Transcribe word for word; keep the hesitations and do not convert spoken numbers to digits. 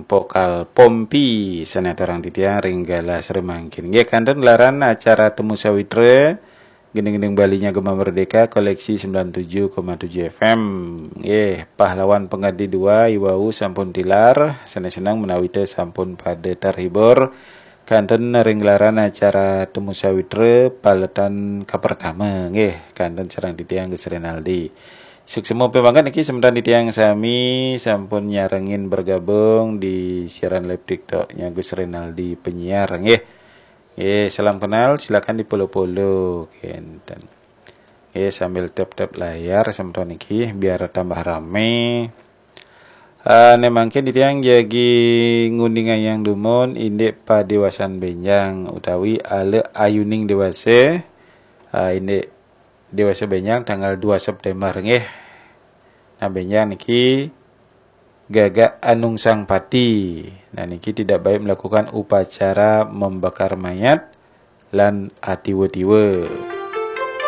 Pokal Pompi sané aturang titiang ring galah sané mangkin. Nggih, kanten gelaran acara Temu Sawitra, gending-gending Balinya Gema Merdeka, koleksi sembilan tujuh koma tujuh F M. Nggih, pahlawan pangadi dua, iwau sampun tilar, sané seneng menawi té sampun pada terhibur. Kanten ring gelaran acara Temu Sawitra paletan kapertama, nggih, kanten sareng titiang Gus Renaldi. Suksma piwangkat niki semeton titiang sami sampun nyarengin bergabung di siaran live TikTok-nya Gus Renaldi penyiar, nggih. Nggih, salam kenal, silakan di-follow-follow, kenten. Nggih, sambil tap-tap layar semeton niki biar tambah rame. Ah, né mangkin titiang jagi ngundingayang dumun indik padiwasan bénjang utawi ala ayuning déwasa, ah, indik déwasa bénjang tanggal dua September, nggih. Nah, bénjang niki Gagak Anungsang Pati. Nah, niki tidak baik melakukan upacara membakar mayat lan atiwa-tiwa.